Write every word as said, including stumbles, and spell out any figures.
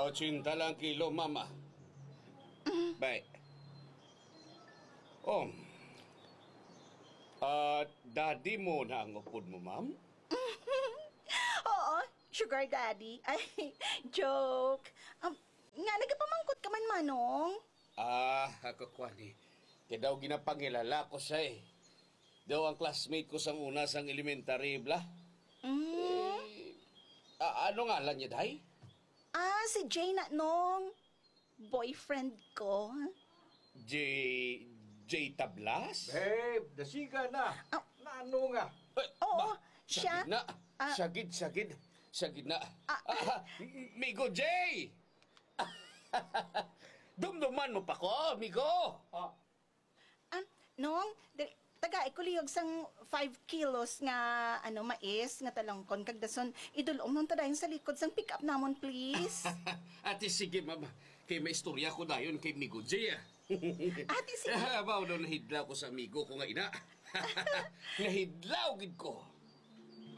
Ochenta lang kilo, mama. Bay. Oh. Ah, daddy mo na ang upod mo, ma'am? Oo, sugar daddy. Ay, joke. Um, nga, nagapamangkot ka man, Manong? Ah, ako, Kwani. Kaya daw ginapangilala ko siya eh. Daw ang classmate ko sang una sang elementary, bla. Mm. Eh, a- ano ngalan niya, day? Ah, si Jay na, Nong. Boyfriend ko. J, J Tablas? Babe, dasiga na. Ah. Nano nga? Eh, Oo, ba, siya. Sagid na. Ah. Sagid, sagid. Sagid na. Ah. Ah, M-, Migo J! Dumduman mo pa ko, Migo! Ah. Ah, Nong, dali, tagai ko lihog sang five kilos nga, ano, mais nga talangkon, kag dason idul-ong nun ta dayon sa likod sang pick-up namon, please. Ate, sige, ma'am. Kay may istorya ko dayon kay Migo J, ah. Ate, sige. Ah, mao daw nahidlaw ko sa amigo ko nga ina. Nahidlaw gid ko.